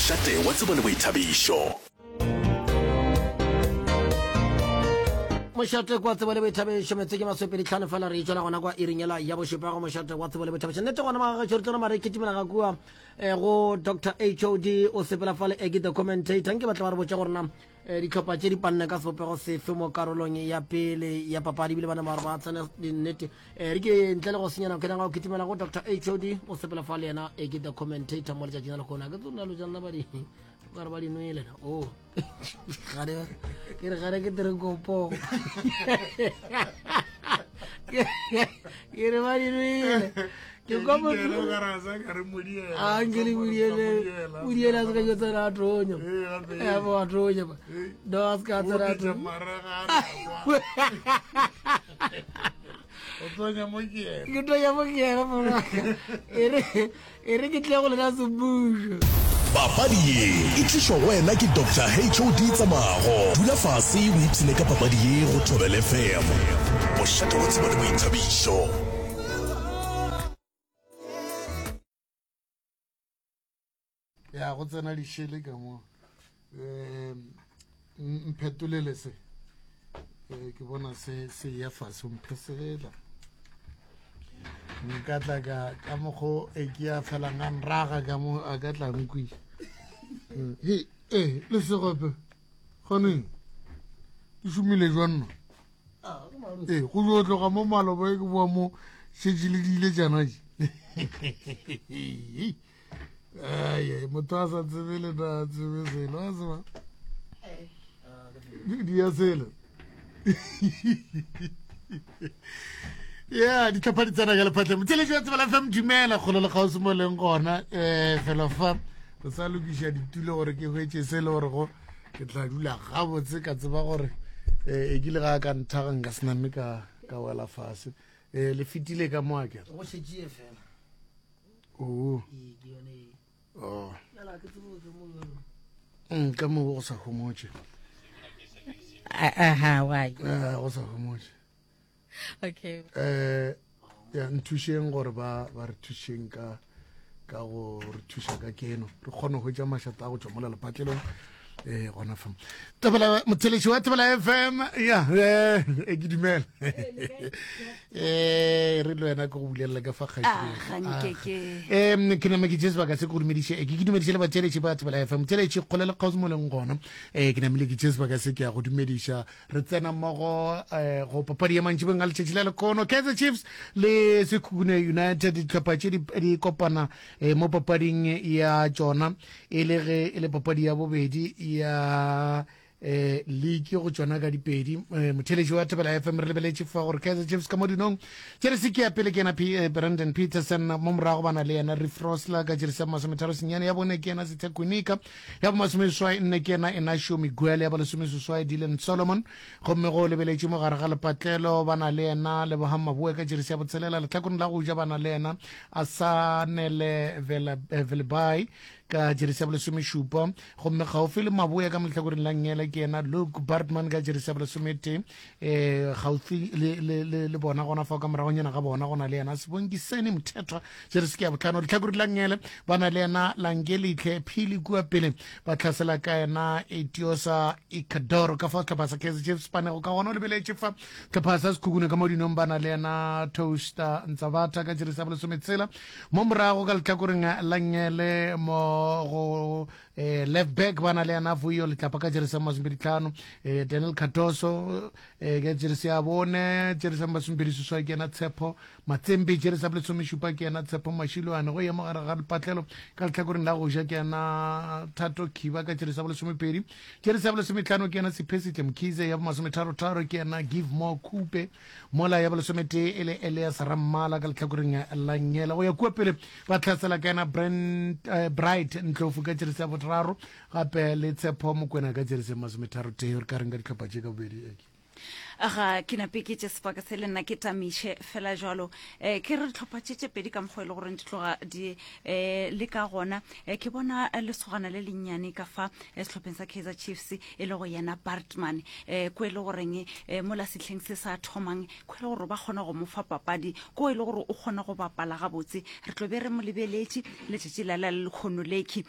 Mošate wa tsebo le boithabišo. Mošate kwa tsebo le boithabišo metse ke masopedi tlhano fela re itšwela gona kwa iring yela ya bošupa go mošate wa tsebo le boithabišo nnete gona magagašo re tlona mare kitimela ga kua eh, go dr hod o sepela fale eke the commentator nke batla ba re botša gore na eh, ditlhopha tše di panne ka sebopego sefe mo karolong ya pele ya papadi ebile bana ba re ba tsene dinnete eh, re ke ntle le go senyana ke nanga go kitimela go dr hod o sepela fa le yena eke the commentator mo letšatšing la lekgono a ke tsona lo tša ba di ba re ba di nwele na o gare ke re gare ke tere kopo ke re ba di nwele ke kwa motho a nke le modiele modiele a se ka jo tsena a tonya e bo a tonya ba no a se ka tsena a tonya o tonya mo ke yena ke tonya mo ke yena e re E re ke tle go lena semmušo. Papadi ye e tlišwa go wena ke Doctor HOD Tsamago. Dula fase o ipshine ka papadi ye go Thobela FM, mošate wa tsebo le boithabišo. Ya go tsena dišele ka mo. Um mphetolele se. Eh, ke bona se se ya fase o mphesela. Nka tla ka ka mokgo e ke ya felang a nraga ka mo a ka tla nkwi. Mm, He, eh, le segope. Gone. Di šomile jwang no? Ee, go jo tloga mo maloba e ke boa mo šetše le di ile tšana je. Ai, motho a sa tsebe le na tsebe selo a tseba di ya selo ya ditlhopha di tsena ka lephatleng motšheletši wa tsebela fm dumela kgolo le kgauswi mo leng gona um felo fa re sa lokiša ditulo gore ke hwetše se le gore go ke tla dula gabotse ka tseba gore um e kile ga ka nthaga nka se name ka ka wela fase um le fetile ka mo akere go šetšie fela oo Ee, ke yone e. oh. Bjale ga ke tsebe go mo jalo. Mm, ka mo go sa homotše aha why Eh, go sa homotše okay eh ya nthušeng gore ba ba re thušeng ka ka go re thuša ka keno re kgone go hwetša mašata a go tšwa mola lepatlelong eh gona fa tebela motheletši wa tebela fm ya eh e ke dumela eh re le wena ke go bulelela ka fa Ah, ga nke ke. um ke nama ke tše sebaka se ke go dumediše eh, ke ke dumediše le batheletši ba tebela fm motheletši kgole le kgauswi mo leng gona um ke namile ke tše sebaka se ke ya go dumediša re tsena mmogo um go papadi ya mantšibeng a letšatši la lekono kaizer chiefs le sekhukhune united dihlopha tše di di kopana um mo papading ya tšona e le ge e le papadi ya bobedi ya eh league go tšona ka dipedi eh, motheletši wa thobela fm re lebeletše fa gore kaizer chiefs ka mo dinong jeresi ke ya pele ke yena eh, brandon peterson mo morago ba na le yena riff rosler ka jeresi ya masometharo senyane ya bone ke yena sethekonika ya bomasomeseswai nne ke yena Inacio Miguel, ya bolesomeseswai Dylan Solomon, gomme go lebeletše mo gare ga lepatlelo ba na le yena Lebohang Maboe ka jeresi ya botshelela, lehlakoreng la go ja ba na le yena Asanele eh, Velebai ka jeresi ya bolesomešupa, gomme gaufi le Maboe ka molehlakoreng la nngele ke yena Luke Bartman ka jeresi ya bolesometee eh gaufi le le le le bona gona fa ka moragonyana ga bona go na le yena Sibongiseni Mthethwa jeresi ke ya botlhano letlhakore la ngele ba na le yena Langelihle Phili kua pele ba tlhasela ka yena Etiosa Ikadoro ka fa setlhopha sa Kaizer Chiefs panego ka gona o lebeletše fa setlhopha sa Sekhukhune ka mo dinong ba na le yena Toaster Ntsabata ka jeresi ya bolesometshela mo morago ka letlhakoreng la ngele mo go eh, left back ba na le yena Vuyo Letlapa ka jeresi ya masomepedi-tlhano eh, Daniel Cardoso eh, ka jeresi ya bone jeresi ya masomepedi-seswai ke yena Tshepo Matsempe jeresi ya bolesomešupa ke yena Tshepo Mashiloane go ya mo gare ga lepatlelo ka lehlakoreng la go ja ke yena Thato Khiba ka jeresi ya bolesomepedi jeresi ya bolesometlhano ke yena Siphesihle Mkhize ya bomasometharo-tharo ke yena Give More Khupe mola ya bolesometee e le Elias Rammala ka lehlakoreng la Ngela go ya kua pele ba tlhasela ka yena Brent, eh, Bright Ndlovu ka jeresi ya botraro gape le Tshepo Mokwena ka jeresi ya masometharotee re ka reng ka dihlopha tše ka bobedi Eke? Ga ke nape ke tše sebaka se le nna ke tamiše fela jalo um ke re dihlopha tše tše pedi ka mokgwa e le goreng di tloga di um le ka gona um ke bona lesogana le lennyane ka fa sehlopheng sa Kaizer Chiefs e le go yena Bartman um ko e le goreng um mola sehleng se sa thomang ko e le gore ba kgona go mo fa papadi ko e le gore o kgona go bapala gabotse re tlo be re mo lebeletše letšatši la la lekgono lekhi.